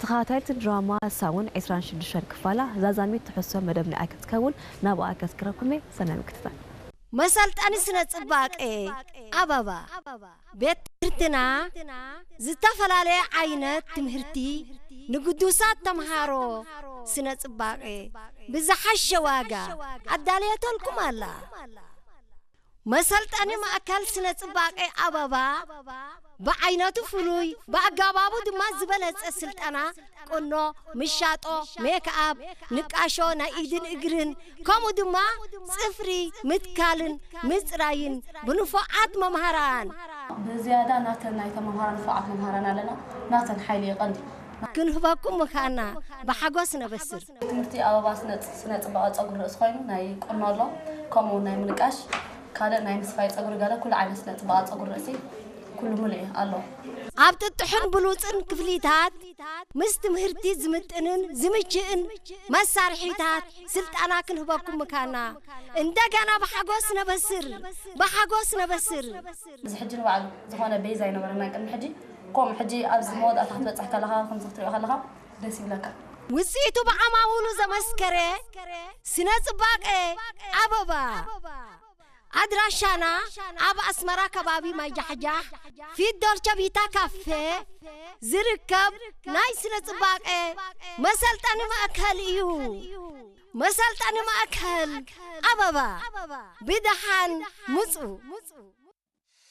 ተኸታተልቲ ድራማ ሳውን ዕስራን ሽዱሽተን ክፋላ ዛዛሚት ትሕሶ መደብ ንኣይ ክትከውን ናብኣ ከስክረኩም እየ። ሰናይ ምክትታል። መሰልጠኒ ስነ ጽባቄ ኣበባ። ቤት ትምህርትና ዝተፈላለየ ዓይነት ትምህርቲ ንግዱሳት ተምሃሮ ስነ ጽባቄ ብዝሓሸ ዋጋ ኣዳልየተልኩም ኣላ። መሰልጠኒ ማእከል ስነ ጽባቄ ኣበባ ብዓይነቱ ፍሉይ፣ ብኣገባቡ ድማ ዝበለጸ ስልጠና ቁኖ፣ ምሻጦ፣ ሜክኣፕ፣ ንቃሾ ናይ ኢድን እግርን፣ ከምኡ ድማ ጽፍሪ ምትካልን ምጽራይን ብንፉዓት መምሃራን። ብዝያዳ ናተን ናይ ተመሃራን ንፉዓት መምሃራን ኣለና። ናተን ሓይሊ የቐንዲ። ክንህበኩም ምኻና ብሓጎስ ነበስር። ትምህርቲ ኣበባ ስነ-፣ ስነ ጽባቐ ጸጉሪ ርእሲ ኮይኑ ናይ ቁኖ ኣሎ፣ ከምኡ ናይ ምንቃሽ፣ ካልእ ናይ ምስፋይ ጸጉሪ ገለ ኩሉ ዓይነት ስነ ጽባቐ ጸጉሪ ርእሲ ኩሉ ሙሉእ ኣሎ። ኣብ ጥጡሕን ብሉጽን ክፍሊታት ምስ ትምህርቲ ዝምጥንን ዝምችእን መሳርሒታት ስልጠና ክንህበኩም ምካና እንደገና ብሓጎስ ነበስር፣ ብሓጎስ ነበስር። እዚ ሕጂ ንባዕሉ ዝኾነ ቤዛ ኣይነበረና ቅድሚ ሕጂ። ከምኡ ሕጂ ኣብዚ መወዳእታ ክትበጽሕ ከለኻ፣ ከምዚ ክትሪኦ ከለኻ ደስ ይብለካ። ውጽኢቱ ብዓማውሉ ዘመስከረ ስነ ጽባቐ ኣበባ። ኣድራሻና ኣብ ኣስመራ ከባቢ ማይጃሕጃሕ ፊት ዶልቸ ቪታ ካፌ ዝርከብ ናይ ስነ ጽባቐ መሰልጠኒ ማእከል እዩ። መሰልጠኒ ማእከል ኣበባ። ብደሓን ምጹ።